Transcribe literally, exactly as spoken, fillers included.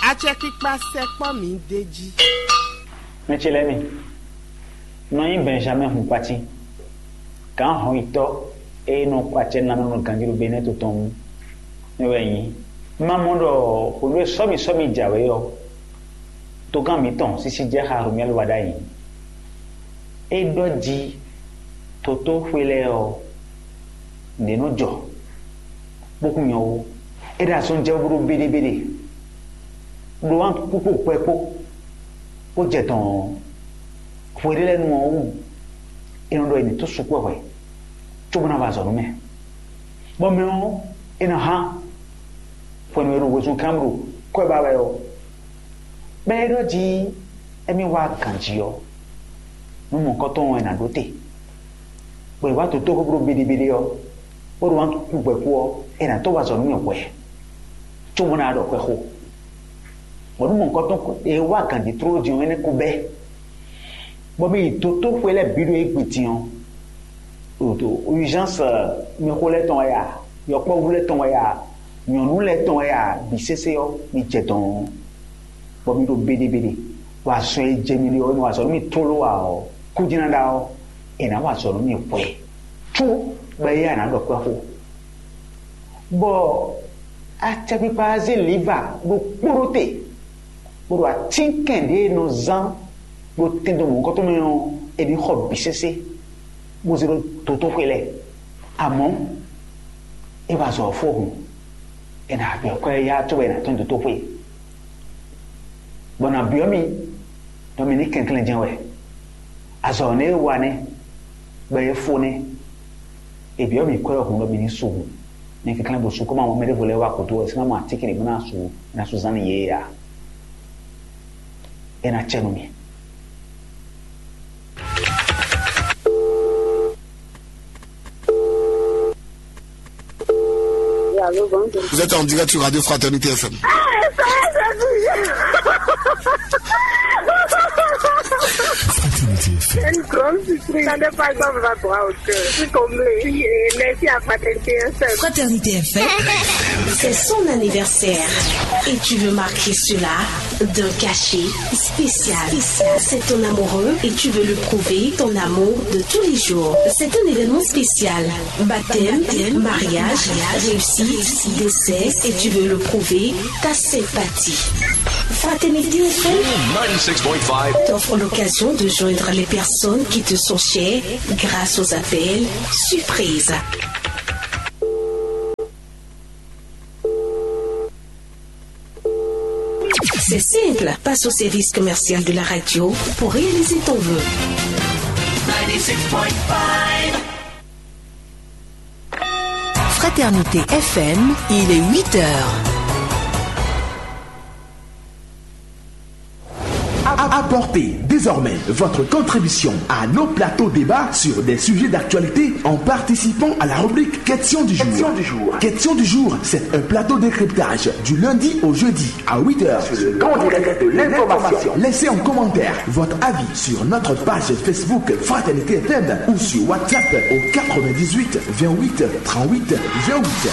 Acɛkpikpa sɛkpɔ́ mǐ d'é jí. Mɛ ce lɛ́ɛ mi, nɔ nyí Bɛnjamɛ́ɛ hun kpatín, gǎn hɔnyitɔ́ e nɔ kɔ acɛ ná nɔ ganjí ɖo Benɛ́ɛ to tɔn wú. É wɛ nyí, má mɔ ɖɔ hwenu e sɔ́mi sɔ́mi jǎwe ɔ́, togán mǐtɔn sísí jɛ xá Romɛ́lu wá ɖ'ayǐ. É ɖɔ jí totóxwe lɛ́ɛ ɔ́, nǔɖé nɔ jɔ, bó kún nyɔ́ ó. É ɖo azɔn jɛ bó ɖó béɖébéɖé, ɖó wǎn kúkú kpɛ kpó, bó jɛ dɔn hwe ɖé lɛ́ɛ nu ɔ́ wú. É nɔ ɖɔ è nǐ tó sukpɔ́ hwɛ, cóbó ná ba azɔ̌ nú mɛ. Bɔ mɛ ɔ́, é nɔ hán hwenu e ɖo wezun kán ɖo kɔ́ ba wɛ ɔ́, bɔ é ɖɔ jí émí wá ganjí ɔ́, nú mɔ̌hunkɔtɔn ɔ́ è nǎ ɖó te, bɔ è wá dǒ tóxóblo béɖébéɖé ɔ́, bó ɖo wǎn kú gbɛ̌ kú ɔ́, è nǎ tɔ́ wá azɔ̌ nú mì hwɛ̌, cóbó ná ɖɔ xwɛ xo. Bɔ nú mɔ̌hunkɔtɔn e wá ganjí tlóló din ɔ́, énɛ́ ko bɛ́, bɔ mì yi dotóxwé lɛ́ɛ bǐ ɖo égbé din ɔ́, ɖo urgence, mɛxó lɛ́ɛ tɔn wɛ ya, yɔkpɔ́vú lɛ́ɛ tɔn wɛ ya, nyɔ̌nu lɛ́ɛ tɔn wɛ ya, bǐ sésé ɔ́, mi jɛ dɔ̌n, bɔ mi ɖo béɖébéɖé, bɔ azɔn e jɛ mi ɖe ɔ́, mi wa azɔ̌ nú mi tlóló ǎ ɔ́, kú jɛ́n ná ɖa ɔ́, è nǎ wa azɔ̌ nú mi hwɛ, có bɔ éyɛ́ ná ɖɔ kpɛ́ xó. Bɔ acɛkpikpa ɔ́ zé lǐva ɖokpó ɖó te, bó ɖo atínkɛn ɖě e nɔ zán ɖo tɛndo mɔ̌hunkɔtɔn mɛ ɔ́, è nǐ xɔ bǐ sésé, bó zé ɖó dotóxwé lɛ́ɛ. Amɔ̌, é wá azɔ̌ ɔ́ fó hǔn, è nǎ byɔ́ kwɛ́ yá cóbɔ è nǎ tɔ́n dotóxwé, bɔ è nǎ byɔ́ mì ɖɔ mi ní kɛnklɛ́n jɛ́n wɛ. Azɔ̌ nɛ́ e wa nɛ́, bɔ é fó nɛ́. È byɔ́ mì kwɛ́ ɔ́ hǔn ɖɔ mi ní su hǔn. Mi kɛnklɛ́n bo su, kó ma mɔ mɛ ɖěvo lɛ́ɛ wá kútú ɔ́, è sɔ́ ná mɔ atínkɛn ɖě bó ná su, bó ná su zán nú yě ǎ. É ná cɛ nú mi. Oui, allô, bonjour. Vous êtes en direct sur Radio Fraternité F M. Ah, ça, ça, ça. Fraternité F M. Une grande surprise. Ça n'est pas comme la droit au cœur. Je suis comblée. Oui, et merci à Fraternité F M. Fraternité F M, c'est son anniversaire. Et tu veux marquer cela d'un cachet spécial. Spécial. C'est ton amoureux et tu veux lui prouver ton amour de tous les jours. C'est un événement spécial. Baptême, mariage, réussite, décès, et tu veux le prouver, ta sympathie. Fraternité F M t'offre l'occasion de joindre les personnes qui te sont chères grâce aux appels surprises. C'est simple, passe au service commercial de la radio pour réaliser ton vœu. Fraternité F M, il est huit heures. Apportez désormais votre contribution à nos plateaux débats sur des sujets d'actualité en participant à la rubrique Question du jour. Question du jour. Question du jour, c'est un plateau décryptage du lundi au jeudi à huit heures sur le grand direct de l'information. Laissez en commentaire votre avis sur notre page Facebook Fraternité F M ou sur WhatsApp au quatre-vingt-dix-huit vingt-huit trente-huit vingt-huit.